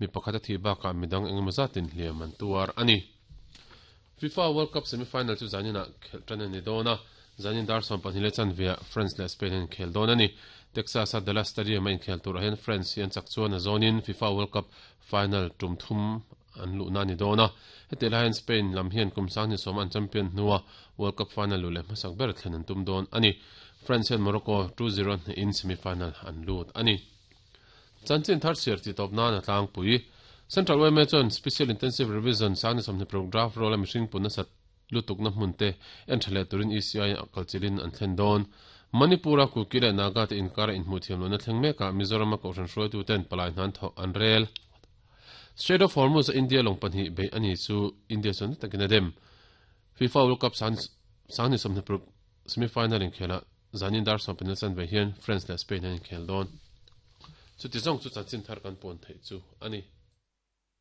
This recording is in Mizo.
Mi pakhat a thih bakah midang engemaw zatin hliam an tuar a ni. FIFA World Cup semi-final chu zaninah khelh tan a ni dawn a, zanin dar 22 leh chanveah France leh Spain an inkhel dawn a ni. Texas-a Dallas Stadium-a inkhel turah hian France hi an chak chuan a zawnin FIFA World Cup final tum thum an luhna a ni dawn a. Hetiang lai hian Spain lam hian kum 2010 an champion hnua World Cup final luh leh hmasak ber thlen an tum dawn a ni. France hian Morocco 2-0 hnehin semi-final an lut a ni. Chanchin thar chhiar tih tawp nan a tlangpui. Central yma chuan Special Intensive Revision sangni 26 draft roll a mihring pun nasat lutukna hmun te en tha leh turin ECI a kalchilhin an thlen dawn. Manipur-a Kuki leh Naga te inkara inhmuh thiam lohna thleng mekah Mizoram-a kohhran hruaitu ten palai hnan thawh an rel. Strait of Hormuz-a India lawng pahnih beih a ni chu India chuan na takin a dem. FIFA World Cup sangni 26 semi-final inkhelah Zanin dar 15 chanve hian France leh Spain an inkhel dawn. Chuti zawng chu chanchin thar kan puan theih chu a ni.